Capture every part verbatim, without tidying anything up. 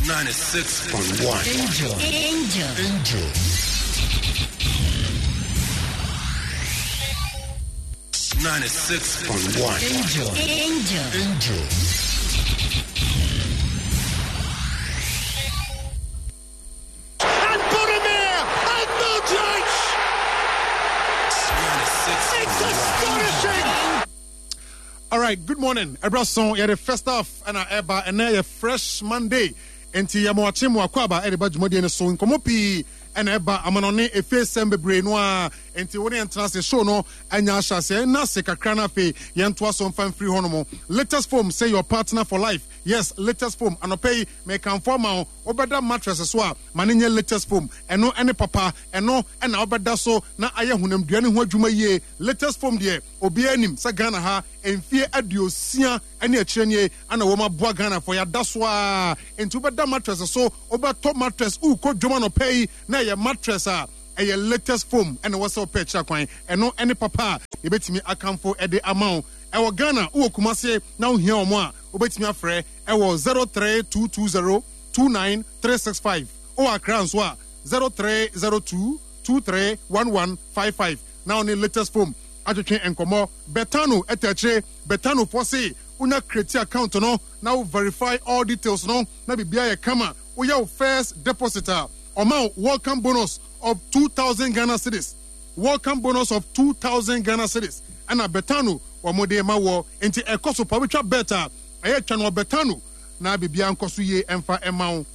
Ninety-six point one. Angel. Angel. Angel. Ninety-six point one. Angel. Angel. Angel. And Budimir and Modric! It's astonishing! All right, good morning. Ɛberɛ so yɛde first half ɛna ɛba ɛnɛ yɛ fresh Monday. Nti yɛ mo akye mo akɔ ɛde ba dwumadie no so nkɔmmɔ pii ɛna ɛba amanɔne efe sɛm bebree no a nti wo ne yɛn tena ase show no anya ahyɛ ase ɛna ase kakra no afei yɛntoa so mfa mfiri hɔ nom latest foam say your partner for life yes latest foam anɔpɛ yi mekamfo ama wo wobɛda mattress so a ma ne nyɛ latest foam ɛno ɛne papa ɛno ɛna wobɛda so na ayɛ honamdua ne ho adwuma yie latest foam deɛ obiara nim sɛ ghana ha mfie aduosia ne akyerɛ nie ana wɔn aboa ghanafoɔ yɛada so a nti wobɛda mattress so wobɛtɔ mattress wokɔ dwom anɔpɛ yi na ɛyɛ mattress a ɛyɛ latest foam ɛna wɔ sɛ wopɛ akyira kwan ɛno ɛne papa a yɛbɛtumi akamfo ɛde ama wo ɛwɔ ghana wowɔ kumase na wohia wɔn a wobɛtumi afrɛ ɛwɔ zero three two two zero two nine three six five wowɔ akra nso a zero three zero two two three one one five five na ɔne latest foam atwetwe nkɔmmɔ betano ɛtɛ akyire betano fɔ se wonya create account no na wo verify all details no na biribiara yɛ kama woyɛ wo first deposit a ɔma wo welcome bonus of two thousand ghana cedis welcome bonus of two thousand ghana cedis ɛna betano wɔn de ma wɔ nti ɛkɔ so pa wotwa bet a ɛyɛ twa no wɔ betano na biribiara nkɔ so yie ɛmfa ɛma wo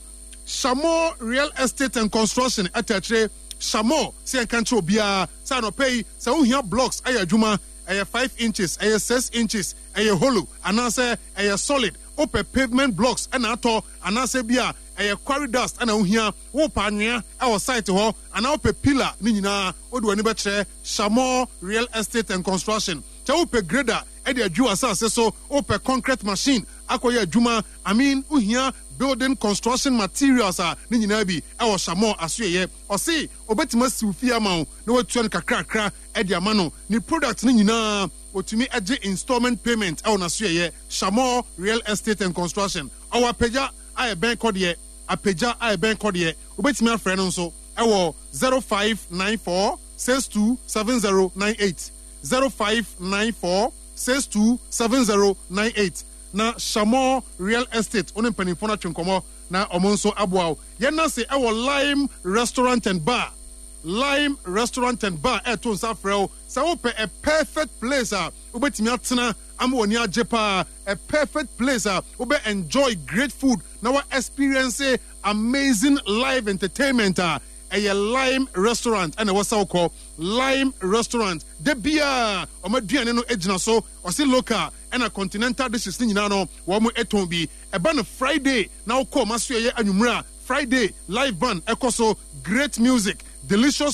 shamo real estate and construction ɛtɛ akyire shamo sɛ yɛnka nkyerɛ obiara sɛ anɔpɛ yi sɛ wohia blocks ɛyɛ adwuma ɛyɛ five inches ɛyɛ six inches ɛyɛ hollow anaasɛ ɛyɛ solid wopɛ pavement blocks ɛna atɔ anaasɛ bi a ɛyɛ quarry dust ɛna wohia wopɛ anwea ɛwɔ site hɔ anaa wopɛ pillar ne nyinaa wode w'ani bɛkyerɛ shamo real estate and construction kyɛ wopɛ grader ɛde adwi wɔ asase so wopɛ concrete machine akɔyɛ adwuma i mean wohia building construction materials a ne nyinaa bi ɛwɔ shamo asoɛyɛ ɔse obɛtumi asi wo fie ama wo na watua no kakrakra ɛde ama no ne product no nyinaa otumi agye installment payment ɛwɔ n'asoɛyɛ shamo real estate and construction ɔwɔ apagya a ɛbɛn kɔdeɛ apagya a ɛbɛn kɔdeɛ wobɛtumi afrɛ no nso ɛwɔ zero five nine four six two seven zero nine eight zero five nine four six two seven zero nine eight na shamo real estate ɔne mpanimfoɔ no atwe nkɔmmɔ na ɔmo nso aboa wo yɛn nase ɛwɔ lime restaurant and bar lime restaurant and bar ɛɛto nsa frɛ wo sɛ wopɛ a perfect place a wobɛtumi atena ama w'ani agye paa a perfect place a wobɛ enjoy great food na wa experience amazing live entertainment a ɛyɛ lime restaurant ɛna ɛwɔ sɛ wokɔ lime restaurant da biaa ɔmo aduane no gyina so ɔse local ɛna continental dishes ne nyinaa no wɔn ɛtɔn bi ɛba no friday na wokɔ ɔmo aso ɛyɛ anwummerɛ a friday live band ɛkɔ so great music delicious